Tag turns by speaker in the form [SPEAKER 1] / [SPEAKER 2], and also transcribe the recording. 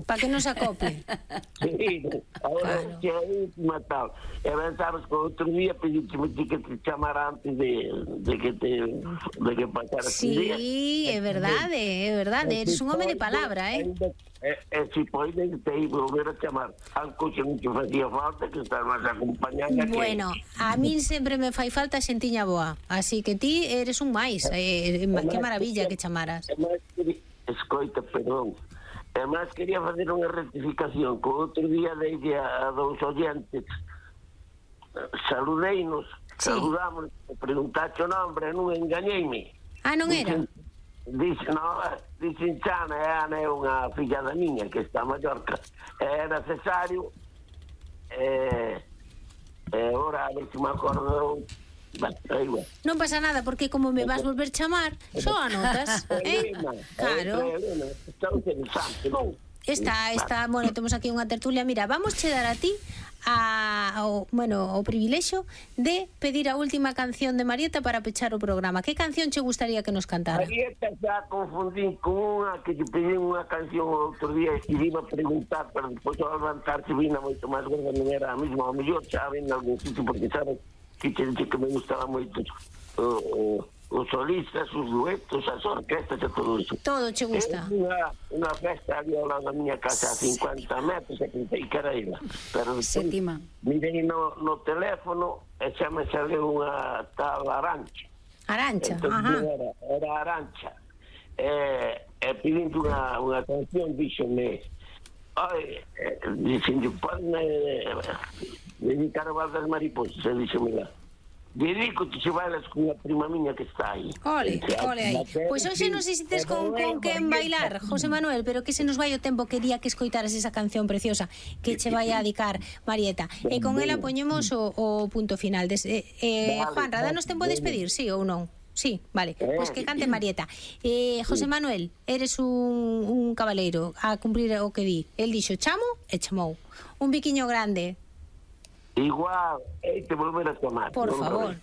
[SPEAKER 1] Para que non se acople.
[SPEAKER 2] Sí, ahora que aí matado. E ben sabes que outro día pedícheme que te chamara antes de que pasara este día.
[SPEAKER 1] Sí, é verdade, eres un home de palabra,
[SPEAKER 2] Si podes te ir volver a chamar. Algo que non te facía falta, que estás máis acompañada.
[SPEAKER 1] Bueno, a min sempre me fai falta xentiña boa, así que ti eres un máis. Que maravilla que chamaras.
[SPEAKER 2] Escoita, perdón. Además quería facer unha rectificación. Que outro día deille a dous oyentes, saludeinos, saludamos, preguntaste o nombre, non engañeime.
[SPEAKER 1] Ah, non era?
[SPEAKER 2] Dicen Chana, Ana é unha filla da miña que está a Mallorca. Era Cesario, ora a ver se me acordo.
[SPEAKER 1] Non pasa nada, porque como me vas volver chamar, só anotas, Claro. Está, bueno, temos aquí unha tertulia. Mira, vamos che dar a ti o privilexio de pedir a última canción de Marieta para pechar o programa. Que canción che gustaría que nos cantara?
[SPEAKER 2] Marieta xa confundín con unha que te pedí unha canción outro día e iba a preguntar, pero depois ao levantarse vina moito máis gorda, non era a mesma, ao mellor xa ven en algún sitio, porque sabes que te dice que me gustaba moito os solistas, os duetos, as orquestas e todo iso.
[SPEAKER 1] Todo che gusta.
[SPEAKER 2] Unha festa ali ao lado da miña casa a 50 metros e pensei que era ela. Pero
[SPEAKER 3] Sétima.
[SPEAKER 2] Mirei no teléfono e xa me sale unha tal Arancha.
[SPEAKER 1] Arancha,
[SPEAKER 2] Era Arancha. E pedindo unha canción, díxome, dixen, podme dedicar o Val das Mariposas, e díxome lá. Dedico que se bailas con a prima miña que está aí.
[SPEAKER 1] Ole aí. Pois hoxe non sei se tes con quen bailar, José Manuel, pero que se nos vai o tempo. Quería que escoitaras esa canción preciosa que che vai a dedicar Marieta. E con ela poñemos o punto final. Juanra, danos tempo de despedir, sí ou non? Sí, vale, pois que cante Marieta. José Manuel, eres un cabaleiro a cumprir o que di. El dixo chamo e chamou. Un biquiño grande.
[SPEAKER 2] Igual, te volver a tomar.
[SPEAKER 1] Por favor.